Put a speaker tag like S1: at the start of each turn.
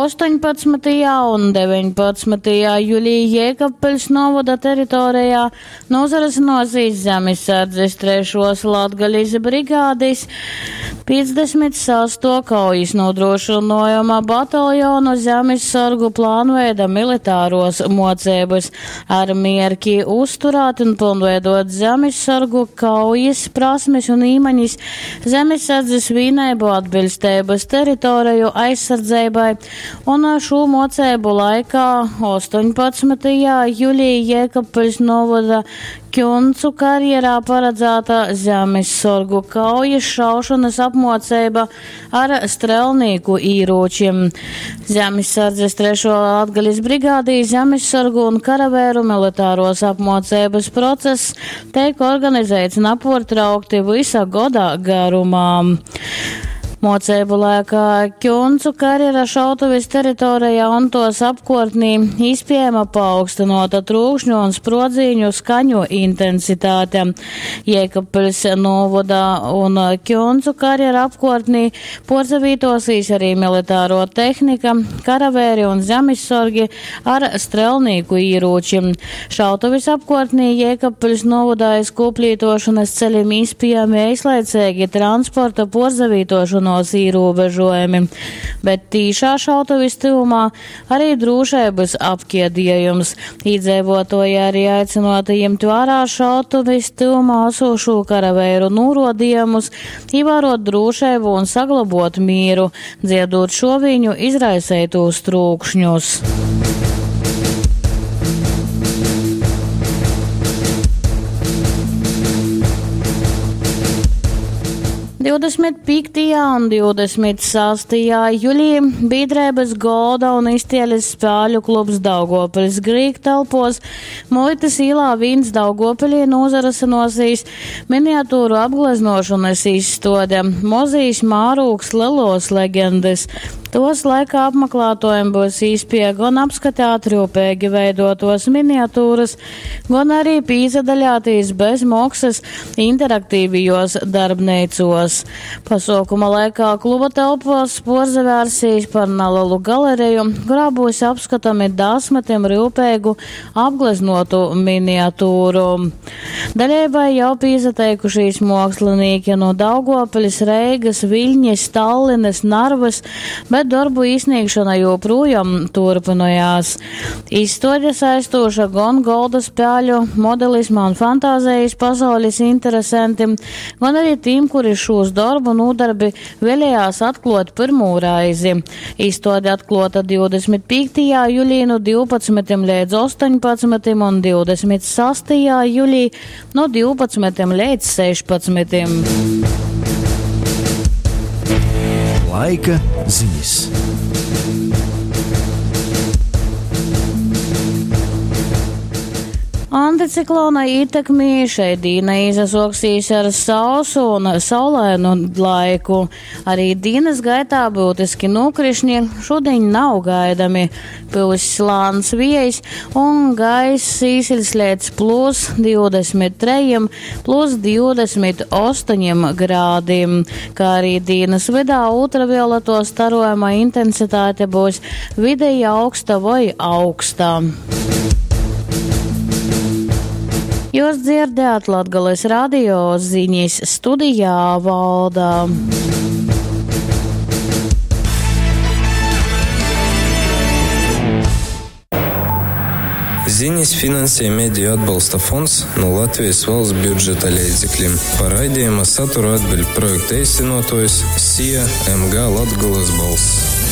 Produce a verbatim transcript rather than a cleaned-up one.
S1: Ostoņpadsmytajā un deveņpadsmytajā julī Jēkabpiļs novada teritorijā nūsarysynōsīs Zemessardzes trešuos Latgalis brigādis piecdesmit sastuo kaujas nūdrūšynuojuma bataljonu zemessorgu plānveida militāruos muoceibys ar mierki uzturēt un pylnveidot zemessorgu kaujas prasmes un īmaņis zemessardzes vīneibu atbiļsteibys teritoreju aizsardzeibai. Un šo moceibu laikā ostoņpadsmytajā julī Jēkabpiļs novada Ķuncu karjerā paredzēta zemessorgu kaujas šaušanas apmoceiba ar strelnīku īrūčim. Zemessardzes trešo Latgalis brigādī zemessorgu un karavēru militāros apmoceibas process teik organizēts naportraukti visa goda garumā. Moceibu laikā Ķuncu karjera šautuves teritorijā un tos apkortnī īspējama paaugstinota trūkšņu un sprodziņu skaņu intensitāte. Jēkabpiļs novada un Ķuncu karjera apkortnī porzavītosīs arī militāro tehnika, karavēri un zemessorgi ar strelnīku īrūčim. Šautuves apkortnī Jēkabpiļs novadā aiz koplītošanas ceļiem īspējami eislaicīgi transporta porzavītošanos ierobežojumi, bet tīšā šautuves tuvumā arī drošības apkiedījums. Iedzīvotāji arī aicināti ņemt vērā šautuves tuvumā esošo karavēru norodījumus, ievērot drošību un saglabot mieru, dziedot šoviņu izraisītos trūkšņus. Divdesmit piektajā un divdesmit sastajā julī biedrības Golda un iztieles spēļu klubs Daugavpils Grīk telpos Muitas īlā viens Daugavpilī nozarasenosīs miniatūru apgleznošanas izstode Mozijas Mārūks Lelos legendas. Tos laikā apmeklētojiem būs īspēja gan apskatāt rūpīgi veidotos miniatūras, gan arī pīzadaļātīs bez maksas interaktīvajos darbnīcos. Pasaukuma laikā kluba telpos porzavērsīs par nelielu galeriju, kurā būs apskatami desmitiem rūpīgu apgleznotu miniatūru. Daļēbai jau pīzateikušīs mākslinieki no Daugavpils, Reigas, Viļņas, Tallinas, Narvas, bet darbu īsniegšana joprojām turpinājās. Izstāde saistoša gan golda spēļu, modelisma un fantāzijas pasaules interesantiem, gan arī tiem, kuri šos darbu nodarbi vēlējās atklāt pirmo reizi. Izstāde atklāta divdesmit piektajā jūlijā no divpadsmitiem līdz astoņpadsmitiem un divdesmit sastajā jūlijā no divpadsmitiem līdz sešpadsmitiem.
S2: Laika ziņas.
S1: Anticiklona ietekmī šeit dīna izasoksīs ar sausu un saulainu laiku. Arī dienas gaitā būtiski nokrišņi šodien nav gaidami. Pūs lāns viejs un gaiss īsiļs līdz plus divdesmit trejiem, plus divdesmit astoņiem grādiem. Kā arī dienas vidā ultravioleto starojuma intensitāte būs vidēji augsta vai augsta. Jūs dzirdējāt Latgales radio ziņas studijā Valda.
S3: Ziņas finansē Mediju atbalsta fonds no Latvijas valsts budžeta līdzekļiem. Par raidījuma saturu atbild projekta īstenotājs S I A M G Latgales balss.